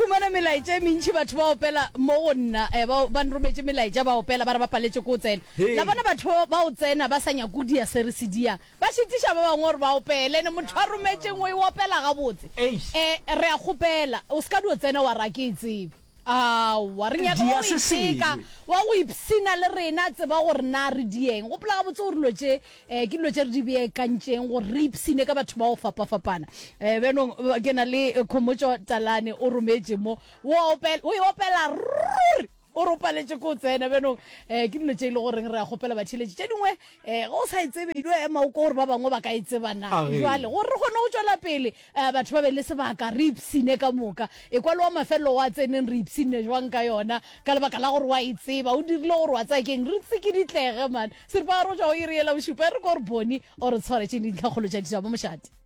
humana melaetša e mentši batho ba opela mo go nna eh, ba ba nrometše melaetša ba opela ba re ba paletše ko tsena. Hei. La bona batho ba ba o tsena ba sa nyake go dia se re se diang. Ba šitiša ba bangwe gore ba opele ene motho a rometšeng o e opela gabotse. Eish. Eh, re a kgopela o se ka dio tsena wa re a ke e tsebe. Aowa, re nyaka wa Dia go se iteka, sengwe. wa go ipshina le rena, tseba gore na re dieng. Gopola gabotse gore dilo tše um ke dilo tše re di beakantšeng gore re ipshine ka batho ba go fapafapana. Um bjanong ke na le Khomotšo Talane o rometše mo, o a opela, o e opela ruri, o re o paletše ke go tsena. Bjanong um ke dilo tše e le goreng re a kgopela batheeletši. Tše dingwe um ge o sa e tsebe, e dio ema o kwe gore ba bangwe ba ka e tseba na. Agee. Bjale gore re kgone go tšwela pele A batho ba be le sebaka, re ipshine ka moka. Ekwa le wa mafelelo wa tseneng re ipshinne jwang ka yona, ka lebaka la gore wa e tseba. O dirile gore wa tsaya keng, re tsikiditlege man. Seripagare go tšwa go iri yela bošupa, e re ko re bone o re tshwaretšeng dintlhakgolo tša ditaba. Mošate.